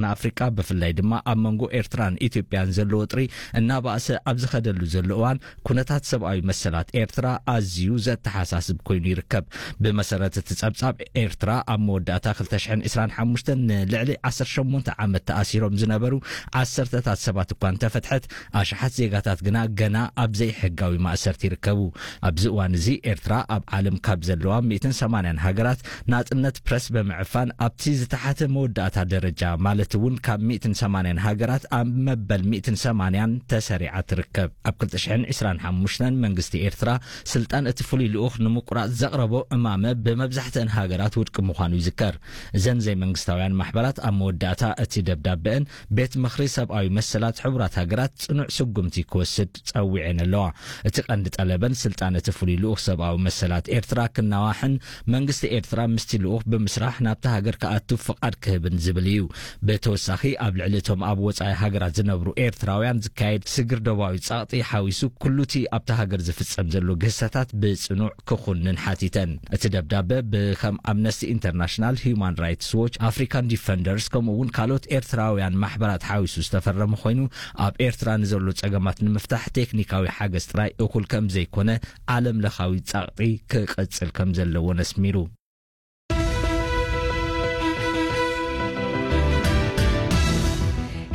ንኣፍሪቃ፣ ብፍላይ ድማ ኣብ መንጎ ኤርትራን ኢትዮጵያን ዘሎ ወጥሪ እናባእሰ ኣብ ዝኸደሉ ዘሎ እዋን፣ ኩነታት ሰብኣዊ መሰላት ኤርትራ ኣዝዩ ዘተሓሳስብ ኮይኑ ይርከብ። ብመሰረት እቲ ጸብጻብ፣ ኤርትራ ኣብ መወዳእታ ክልተ ሽሕን ዕስራን ሓሙሽተን ንልዕሊ ዓሰርተ ሸሞንተ ዓመት ተኣሲሮም ዝነበሩ ዓሰርተታት ሰባት እኳ እንተፈትሐት፣ ኣሽሓት ዜጋታት ግና ገና ኣብ ዘይሕጋዊ ማእሰርቲ ይርከቡ። ኣብዚ እዋን እዚ፣ ኤርትራ ኣብ ዓለም ካብ ዘለዋ ሚእትን ሰማንያን ሃገራት ናጽነት ፕረስ ብምዕፋን፣ ኣብቲ ዝተሓተ መወዳእታ ደረጃ፣ ማለት እውን ካብ ሚእትን ሰማንያን ሃገራት ኣብ መበል ሚእትን ሰማንያን ተሰሪዓ ትርከብ። ኣብ ክልተ ሽሕን ዕስራን ሓሙሽተን መንግስቲ ኤርትራ ስልጣን እቲ ፍሉይ ልኡኽ ንምቁራጽ ዘቕረቦ እማመ ብመብዛሕትአን ሃገራት ውድቂ ምዃኑ ይዝከር። እዘን ዘይመንግስታውያን ማሕበራት ኣብ መወዳእታ እቲ ደብዳበአን ቤት ምኽሪ ሰብኣዊ መሰላት ሕቡራት ሃገራት ጽኑዕ ስጉምቲ ክወስድ ጸዊዐን ኣለዋ። እቲ ቀንዲ ጠለበን ስልጣን እቲ ፍሉይ ልኡኽ ሰብኣዊ መሰላት ኤርትራ ክናዋሕን መንግስቲ ኤርትራ ምስቲ ልኡኽ ብምስራሕ ናብቲ ሃገር ክኣቱ ፍቓድ ክህብን ዝብል እዩ። ብተወሳኺ ኣብ ልዕሊ እቶም ኣብ ወጻኢ ሃገራት ዝነብሩ ኤርትራውያን ዝካየድ ስግር ዶባዊ ጸቕጢ ሓዊሱ ኩሉቲ ኣብቲ ሃገር ዝፍጸም ዘሎ ግህሰታት ብጽኑዕ ክኹንን ሓቲተን። እቲ ደብዳበ ብከም ኣምነስቲ ኢንተርናሽናል፣ ሂዩማን ራይትስ ዎች፣ ኣፍሪካን ዲፈንደርስ ከምኡ እውን ካልኦት ኤርትራውያን ማሕበራት ሓዊሱ ዝተፈረመ ኮይኑ ኣብ ኤርትራ ንዘሎ ጸገማት ንምፍታሕ ቴክኒካዊ ሓገዝ ጥራይ እኹል ከም ዘይኮነ ዓለም ለኻዊ ጸቕጢ ክቕጽል ከም ዘለዎ ነስሚሩ።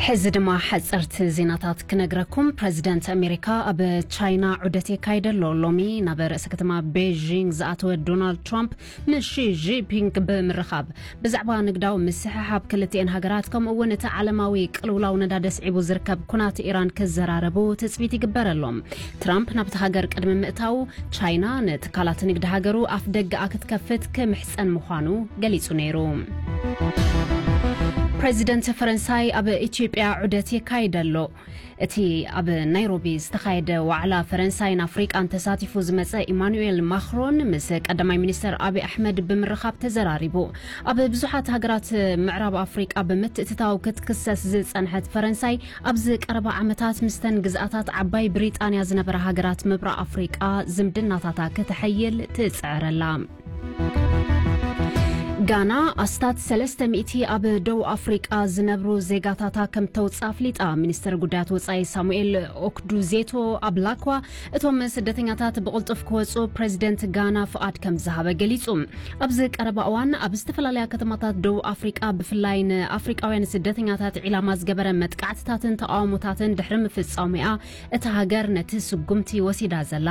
ሕዚ ድማ ሓፀርቲ ዜናታት ክነግረኩም። ፕረዚደንት ኣሜሪካ ኣብ ቻይና ዑደት የካይደ ኣሎ። ሎሚ ናብ ርእሰ ከተማ ቤይጂንግ ዝኣተወ ዶናልድ ትራምፕ ምስ ሺ ጂንፒንግ ብምርኻብ ብዛዕባ ንግዳዊ ምስሕሓብ ክልቲኤን ሃገራት ከምኡ እውን እቲ ዓለማዊ ቅልውላው ነዳዲ ኣስዒቡ ዝርከብ ኩናት ኢራን ክዘራረቡ ትፅቢት ይግበረሎም። ትራምፕ ናብቲ ሃገር ቅድሚ ምእታዉ ቻይና ንትካላት ንግዲ ሃገሩ ኣፍ ደገኣ ክትከፍት ክምሕፀን ምዃኑ ገሊፁ ነይሩ። ፕረዚደንት ፈረንሳይ ኣብ ኢትዮጵያ ዑደት የካይድ ኣሎ። እቲ ኣብ ናይሮቢ ዝተኻየደ ዋዕላ ፈረንሳይን ኣፍሪቃን ተሳቲፉ ዝመጸ ኢማኑኤል ማክሮን ምስ ቀዳማይ ሚኒስተር ኣቢ ኣሕመድ ብምርኻብ ተዘራሪቡ። ኣብ ብዙሓት ሃገራት ምዕራብ ኣፍሪቃ ብምትእትታው ክትክሰስ ዝጸንሐት ፈረንሳይ፣ ኣብዚ ቀረባ ዓመታት ምስተን ግዝኣታት ዓባይ ብሪጣንያ ዝነበራ ሃገራት ምብራቕ ኣፍሪቃ ዝምድናታታ ክተሐይል ትጽዕር ኣላ። ጋና ኣስታት ሰለስተ ሚእቲ ኣብ ደቡብ ኣፍሪቃ ዝነብሩ ዜጋታታ ከም ተውጽእ ኣፍሊጣ። ሚኒስተር ጉዳያት ወጻኢ ሳሙኤል ኦክዱዜቶ ኣብላኳ፣ እቶም ስደተኛታት ብቕልጡፍ ክወጹ ፕረዚደንት ጋና ፍቓድ ከም ዝሃበ ገሊጹ። ኣብዚ ቀረባ እዋን ኣብ ዝተፈላለያ ከተማታት ደቡብ ኣፍሪቃ፣ ብፍላይ ንኣፍሪቃውያን ስደተኛታት ዒላማ ዝገበረ መጥቃዕትታትን ተቓውሞታትን ድሕሪ ምፍጻሙ'ያ እታ ሃገር ነቲ ስጉምቲ ወሲዳ ዘላ።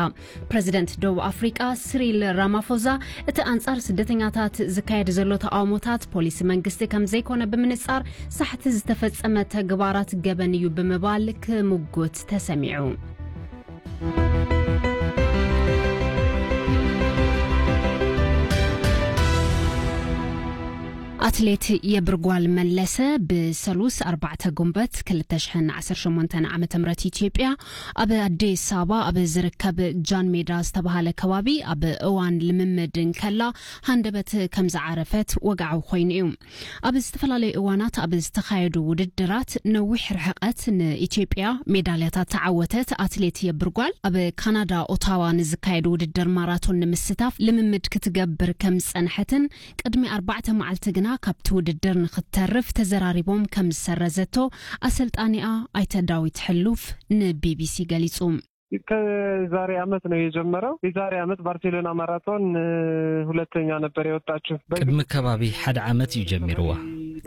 ፕረዚደንት ደቡብ ኣፍሪቃ ሲሪል ራማፎዛ፣ እቲ ኣንጻር ስደተኛታት ዝካየድ ዘሎ ተቓውሞታት ፖሊሲ መንግስቲ ከም ዘይኮነ ብምንጻር፣ ሳሕቲ ዝተፈጸመ ተግባራት ገበን እዩ ብምባል ክምጉት ተሰሚዑ። ኣትሌት የብርጓል መለሰ ብሰሉስ ኣርባዕተ ጉንበት ክልተ ሽሕን ዓሰርተ ሸሞንተን ዓመተ ምህረት ኢትዮጵያ ኣብ ኣዲስ ኣበባ ኣብ ዝርከብ ጃን ሜዳ ዝተባሃለ ከባቢ ኣብ እዋን ልምምድ እንከላ ሃንደበት ከም ዝዓረፈት ወግዓዊ ኮይኑ እዩ። ኣብ ዝተፈላለዩ እዋናት ኣብ ዝተኻየዱ ውድድራት ነዊሕ ርሕቀት ንኢትዮጵያ ሜዳልያታት ተዓወተት ኣትሌት የብርጓል፣ ኣብ ካናዳ ኦታዋ ንዝካየድ ውድድር ማራቶን ንምስታፍ ልምምድ ክትገብር ከም ዝጸንሐትን ቅድሚ ኣርባዕተ መዓልቲ ግና ካብቲ ውድድር ንክትተርፍ ተዘራሪቦም ከም ዝሰረዘቶ ኣሰልጣኒኣ ኣይተ ዳዊት ሕሉፍ ንቢቢሲ ገሊጹ። ከዛሬ ዓመት ነው የጀመረው። የዛሬ ዓመት ባርሴሎና ማራቶን፣ እ፣ ሁለተኛ ነበር የወጣችው። በግ- ቅድሚ ከባቢ ሓደ ዓመት እዩ ጀሚርዋ።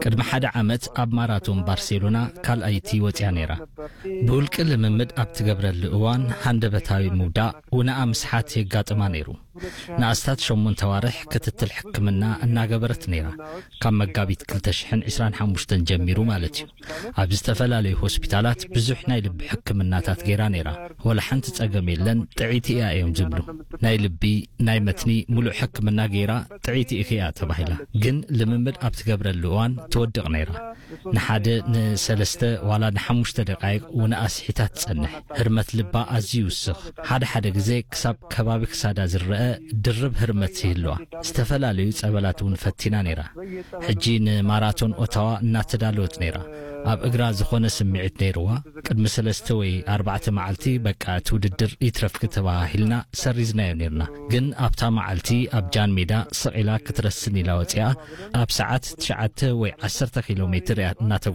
ቅድሚ ሓደ ዓመት ኣብ ማራቶን ባርሴሎና ካልኣይቲ ወጽያ ነይራ። ብውልቂ ልምምድ ኣብ ትገብረሉ እዋን ሃንደበታዊ ምውዳቕ፣ ውነኣ ምስሓት የጋጥማ ነይሩ። ንኣስታት ሸሞንተ ዋርሕ ክትትል ሕክምና እናገበረት ነይራ። ካብ መጋቢት ክልተ ሽሕን ዕስራን ሓሙሽተን ጀሚሩ ማለት እዩ። ኣብ ዝተፈላለዩ ሆስፒታላት ብዙሕ ናይ ልቢ ሕክምናታት ገይራ ነይራ። ወላ ሓንቲ ጸገም የለን፣ ጥዕይቲ እያ እዮም ዝብሉ። ናይ ልቢ፣ ናይ መትኒ ሙሉእ ሕክምና ገይራ ጥዕይቲ ኢኺ እያ ተባሂላ። ግን ልምምድ ኣብ ትገብረሉ እዋን ትወድቕ ነይራ። ንሓደ ንሰለስተ ዋላ ንሓሙሽተ ደቃይቕ ውነኣ ስሒታ ትጸንሕ። ህርመት ልባ ኣዝዩ ይውስኽ። ሓደ ሓደ ግዜ ክሳብ ከባቢ ክሳዳ ዝረአ ድርብ ህርመት ይህልዋ። ዝተፈላለዩ ጸበላት እውን ፈቲና ነይራ። ሕጂ ንማራቶን ኦታዋ እናተዳለወት ነይራ። ኣብ እግራ ዝኾነ ስምዒት ነይርዋ። ቅድሚ ሰለስተ ወይ ኣርባዕተ መዓልቲ በቃ እቲ ውድድር ይትረፍኪ ተባሃሂልና ሰሪዝናዮ ነይርና። ግን ኣብታ መዓልቲ ኣብ ጃን ሜዳ ስቕ ኢላ ክትረስን ኢላ ወፂኣ ኣብ ሰዓት ትሽዓተ ወይ ዓሰርተ ኪሎ ሜትር እያ እናተጓ